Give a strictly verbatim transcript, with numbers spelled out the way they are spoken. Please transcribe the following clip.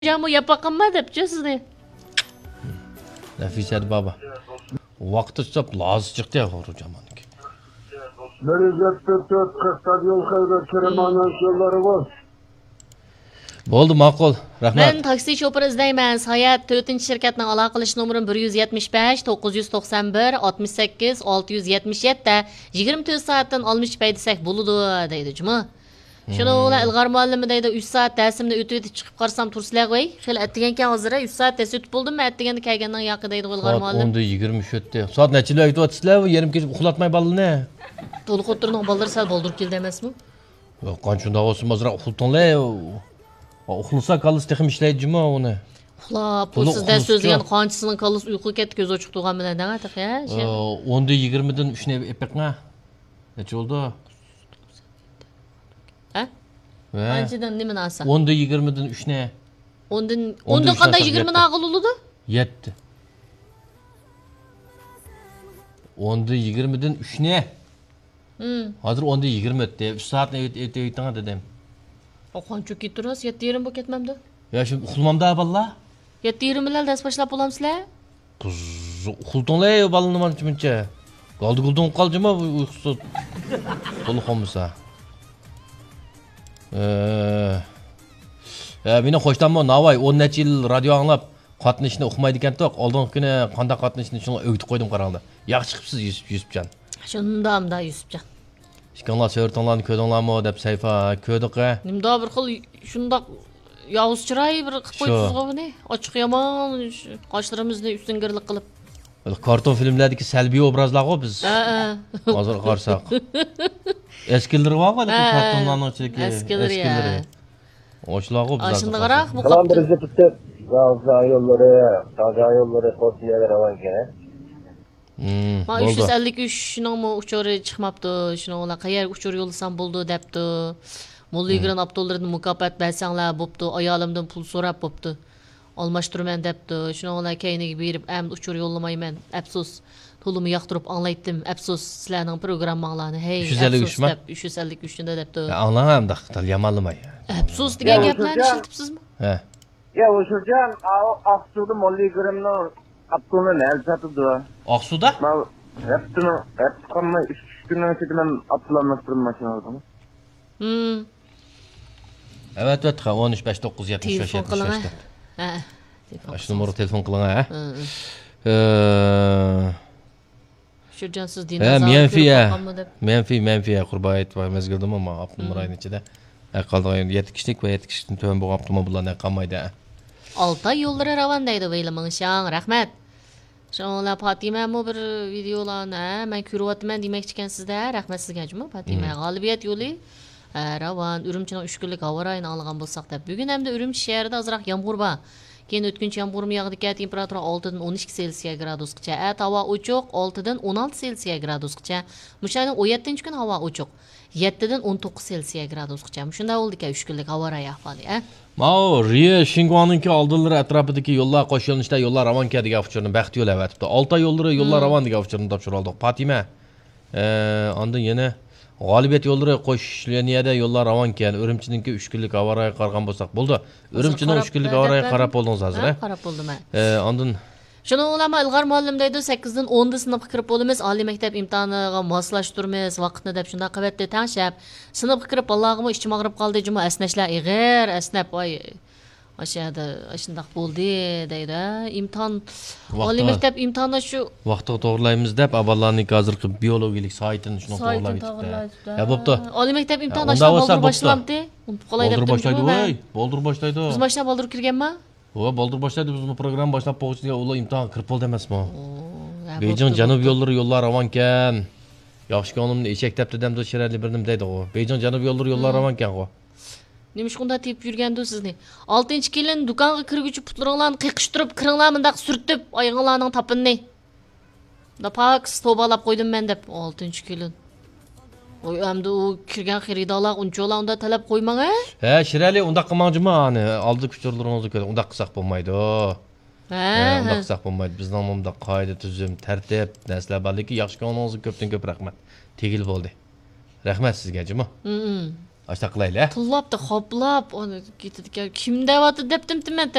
جامۇ ياپاققانما دەپچۇ سىزنى. نەفىسە بابا. ۋاقتى چىقىپ لازى چىقتى يا غورۇ جامانىكى. بىر يۈز يەتتە تۆت قىرىق يول خەيبەر كىرىمانان يوللىرى بولسۇن. بولدى، ماقۇل. رەھمەت. مەن تاكسى شوپۇرى ئىزدەيمەن. ساياھەت تۆتىنچى شىركەتنىڭ ئالاقىلىشىش نومۇرى بىر يۈز يەتمىش بەش، توققۇز يۈز توقسان بىر، ئاتمىش سەككىز، ئالتە يۈز يەتمىش يەتتە، يىگىرمە تۆت سائەتتىن ئالمىشىپ ھەيدىسەك بولىدۇ، دەيدۇ جۇمۇ. شۇنىڭ بىلەن ئىلغار مۇئەللىم دەيدۇ، ئۈچ سائەت دەرسىمنى ئۆتۈۋېتىپ چىقىپ قارىسام تۇرسىلەر غوي. خېلى ئەتىگەنكەن ھازىر، ئۈچ سائەت دەرس ئۆتۈپ بولدىمۇ، ئەتىگەندە كەلگەننىڭ ياقى دەيدۇ ئىلغار مۇئەللىم. سائەت ئون يىگىرمە ئۈچ ئۆتتى. سائەت نەچچىدە ئۆتۈۋاتىسىلەر بۇ يېرىم كېچە ئۇخلاتماي بالىنى؟ تولۇق ئوتتۇرىنىڭ بالىلىرى سەل بالدۇر كېلىدۇ ئەمەسمۇ؟ ياق، قانچە شۇنداق بولسىمۇ ئازراق ئۇخلىتىڭلار. ئۇخلىسا كاللىسى تېخىمۇ ئىشلەيدۇ جۇمۇ ئۇنى. ئۇخلاپ، پۇلسىز دەرس سۆزلىگەن قانچىسىنىڭ كاللىسى ئۇيقۇغا كەتتى، كۆزى ئوچۇق تۇرغان بىلەن دەڭە تېخى، ھە؟ ئوندىن يىگىرمىدىن ئۈچنى ئېلىپ بېقىڭا. نەچچە بولدى؟ ھە؟ ھە. قانچىدىن نېمىنى ئالسا؟ ئوندىن يىگىرمىدىن ئۈچنى. ئوندىن، ئوندىن ئوندىن قانداق ئۈچنى يىگىرمىنى ئالغىلى بولىدۇ؟ يەتتە. ئوندىن يىگىرمىدىن ئۈچنى. ھازىر ئوندىن يىگىرمە ئۆتتى. ئۈچ سائەتنى ئۆت-، ئۆتۈۋېتىڭ دېدىم. ئا، قانچە كېتىرىسىز؟ يەتتە يېرىم بولۇپ كەتمەمدۇ؟ يا، شۇ ئۇخلىمامدا بالىلار. يەتتە يېرىم بىلەن دەرس باشلاپ بولامسىلەر؟ قىز، ئۇخلىتىڭلار بالىنى مانچە مۇنچە. گالدى گۇلدۇڭ قالجىما بۇ ئۇيقۇسىز. بولۇپ قالمىسا. ئە، ئە، مېنىڭ قوشناممۇ ناۋاي ئون نەچچە يىل رادىيو ئاڭلاپ، قاتنىشىنى ئۇقمايدىكەنتۇق. ئالدىنقى كۈنى قانداق قاتنىشىنى شۇنىڭغا ئۆگىتىپ قويدۇم قاراڭلار. ياخشى چىقىپسىز يۈسۈپ، يۈسۈپجان. شۇنداق ئۇنداق يۈسۈپجان. ئىككىڭلار سۆرىتىڭلارنى كۆردۈڭلارمۇ دەپ سەيپا، ھە، كۆردۇق ھە. نېمىدۇ بىر خىل شۇنداق ياۋۇز چىراي بىر قىلىپ قويدىڭىزغۇ بۇنى. ئاچچىق يامان، قاشلىرىمىزنى ئۈستۈنگىرلىك قىلىپ. كارتون فىلىملەردىكى سەلبىي ئوبرازلارغۇ بىز. ھە، ھە. ھازىر قارىساق. ئەسكىلىرى بارغۇ ھېلىقى كارتونلارنىڭ ئىچىدىكى ئەسكىلىرى. ئاشۇنداقراق بۇ. سالام بىر زىپتىپ. غازا يوللىرى، غازا يوللىرى قوشنىيەگە راۋانكەن. مانا ئۈچ يۈز ئەللىك ئۈچنىڭمۇ ئۇچۇرى چىقماپتۇ. شۇنىڭ بىلەن قەيەرگە ئۇچۇر يوللىسام بولىدۇ دەپتۇ. موللا يۈگۈرۈن ئاپتوللىرىدىن مۇكاپات بەرسەڭلار بوپتۇ. ئايالىمدىن پۇل سوراپ بوپتۇ. ئالماشتۇرىمەن دەپتۇ. شۇنىڭ بىلەن كەينىگە بېرىپ ئەمدى ئۇچۇر يوللىمايمەن. ئەپسۇس. تولىمۇ ياقتۇرۇپ ئاڭلايتتىم. ئەپسۇس سىلەرنىڭ پروگرامماڭلارنى. ھەي، ئۈچ يۈز ئەللىك ئۈچ ئەپسۇس ما؟ دەپ، ئۈچ يۈز ئەللىك ئۈچنى دەپ دەپتۇ. ئاڭلاڭ ئەمدى، يامانلىماي. ئەپسۇس دېگەن گەپلەرنى ئىشلىتىپسىزمۇ؟ ھە. يا، ھوشۇرجان، ئاۋۇ ئاقسۇدا موللا يۈگۈرۈننىڭ ئاپتولىنى نەدە ساتىدۇ؟ ئاقسۇدا؟ ماۋۇ ھەپتىنىڭ، ھەپتە قالماي ئۈچ، ئۈچ كۈننىڭ ئىچىدە مەن ئاپتول ئالماشتۇرۇپ ماشىنا ئالدىم. ھىم. ئەۋەتىۋەتتى، ئون ئۈچ، بەش توققۇز، يەتمىش بەش، تېلېفون يەتمىش بەش قىلىڭە. دەپ. ھە، تېلېفون ئاشۇ نومۇرغا تېلېفون قىلىڭە، ھە؟ ھە، ھە. ئە، ھوشۇرجان، سىز ھە، دىنازاۋر مەنفى، كۆرۈپ ھە. باققانمۇ دەپ. مەنفى، مەنفى، ھە، قۇربان ھېيت مەزگىلىدىمۇ ما ئاپتونوم رايون ئىچىدە. ھە، قالىدىغان يەتتە كىشىلىك ۋە يەتتە كىشىلىكتىن تۆۋەن بولغان ئاپتوموبىللار ھە قالمايدۇ، ھە. ئالتاي يوللىرى راۋان دەيدۇ، ۋەيلى مىڭشاڭ، رەھمەت. شۇڭا پاتىمەمۇ بىر ۋىدېئولارنى، ھە، مەن كۆرۈۋاتىمەن دېمەكچىكەنسىز-دە، رەھمەت سىزگە جۇمۇ پاتىمە. غالىبىيەت يولى، ھە، راۋان، ئۈرۈمچىنىڭ ئۈچ كۈنلۈك ھاۋا رايىنى ئاڭلىغان بولساق دەپ. بۈگۈن ئەمدى ئۈرۈمچى شەھىرىدە ئازراق يامغۇر بار. كېيىن ئۆتكۈنچى يامغۇرمۇ ياغىدىكەن، تېمپېراتۇرا ئالتىدىن ئون ئىككى سېلسىيە گرادۇسقىچە. ئەتە ھاۋا ئوچۇق، ئالتىدىن ئون ئالتە سېلسىيە گرادۇسقىچە. مۇشۇ ئاينىڭ ئون يەتتىنچى كۈنى ھاۋا ئوچۇق. يەتتىدىن ئون توققۇز سېلسىيە گرادۇسقىچە. مۇشۇنداق بولىدىكەن ئۈچ كۈنلۈك ھاۋا رايى ئەھۋالى، ھە؟ ماۋۇ رىيە شىنگۇاڭنىڭكى ئالدىلىرى ئەتراپىدىكى يوللار، قوش يۆنىلىشتە يوللار راۋانكەن دېگەن ئۇچۇرنى، بەخت يولى ئەۋەتىپتۇ. ئالتاي يوللىرى يوللار راۋان دېگەن ئۇچۇرنى تاپشۇرۇۋالدۇق. پاتىمە. ئە، ئاندىن يەنە غالىبىيەت يوللىرى قوش لىنىيەدە يوللار راۋانكەن. ئۈرۈمچىنىڭكى ئۈچ كۈنلۈك ھاۋا رايىغا قارىغان بولساق بولىدۇ. ئۈرۈمچىنىڭ ئۈچ كۈنلۈك ھاۋا رايىغا قاراپ بولدىڭىز ھازىر، ھە؟ قاراپ بولدۇم، ھە. ئە، ئاندىن شۇنىڭ بىلەن ئىلغار مۇئەللىم دەيدۇ، سەككىزدىن ئوندا سىنىپقا كىرىپ بولىمىز، ئالىي مەكتەپ ئىمتىھانىغا ماسلاشتۇرىمىز ۋاقىتنى دەپ شۇنداق قىلىۋەتتى تەڭشەپ. سىنىپقا كىرىپ بالىلارغىمۇ ئىچىم ئاغرىپ قالدى جۇمۇ، ئەسنەشلەر ئېغىر ئەسنەپ، ۋاي. ئاشۇ يەردە ئاشۇنداق بولدى دەيدۇ، ھە، ئىمتىھان، ئالىي مەكتەپ ئىمتىھانى شۇ ۋاقتىغا توغرىلايمىز دەپ، ئاباللارنىڭ ھازىرقى بىيولوگىيىلىك سائىتىنى شۇنىڭ توغرىلاپ يېتىپتۇ. يا، بوپتۇ. ئالىي مەكتەپ ئىمتىھانى ئاشۇنداق بالدۇر باشلىمامتى؟ ئۇنتۇپ قالاي دەپتىمۇ مەن. بالدۇر باشلايدۇ، ۋاي، بالدۇر باشلايدۇ. بىز ماشىنا بالدۇر كىرگەنما؟ ھو، بالدۇر باشلايدۇ، بىزمۇ پروگرامما باشلاپ بولغۇچە ئۇلار ئىمتىھانغا كىرىپ بولدى ئەمەسمۇ؟ بېيجىڭ جەنۇب يوللىرى يوللار راۋانكەن. ياخشى كۆڭلۈمنى ئېشەك دەپتۇ دەمدۇ شىرئەلى بىرنېمە دەيدىغۇ. بېيجىڭ جەنۇب يوللىرى يوللار راۋانكەنغۇ. نېمىشقا ئۇنداق تېپىپ يۈرگەندۇ سىزنى؟ ئالتىنچى كېلىن، دۇكانغا كىرگۈچە پۇتلىرىڭلارنى قېقىشتۇرۇپ، كىرىڭلار مۇنداق سۈرتۈپ، ئايىغىڭلارنىڭ تاپىنىنى. مۇنداق پاكىز توۋبالاپ قويدۇم مەن دەپ، ئالتىنچى كېلىن. ۋاي، ئەمدى ئۇ كىرگەن خېرىدارلارغا ئۇنچىۋالا ئۇنداق تەلەپ قويماڭ، ھە؟ ھە، شىرئەلى، ئۇنداق قىلماڭ جۇمۇ، ئانى ئالدى ئۇچۇرلىرىڭىزنى كۆرۈڭ، ئۇنداق قىلساق بولمايدۇ. ھە، ھە، ئۇنداق قىلساق بولمايدۇ. بىزنىڭ مۇنداق قائىدە، تۈزۈم، تەرتىپ، نەرسىلەر بار، لېكىن ياخشى كۆڭلىڭىزگە كۆپتىن كۆپ رەھمەت. تېگىلى بولدى. رەھمەت سىزگە جۇمۇ. ئاشۇنداق قىلايلى. تىللاپتۇ، خوپلاپ، ئۇنى كېتىدىكەن. كىم دەۋاتىدۇ دەپتىمتىمەن،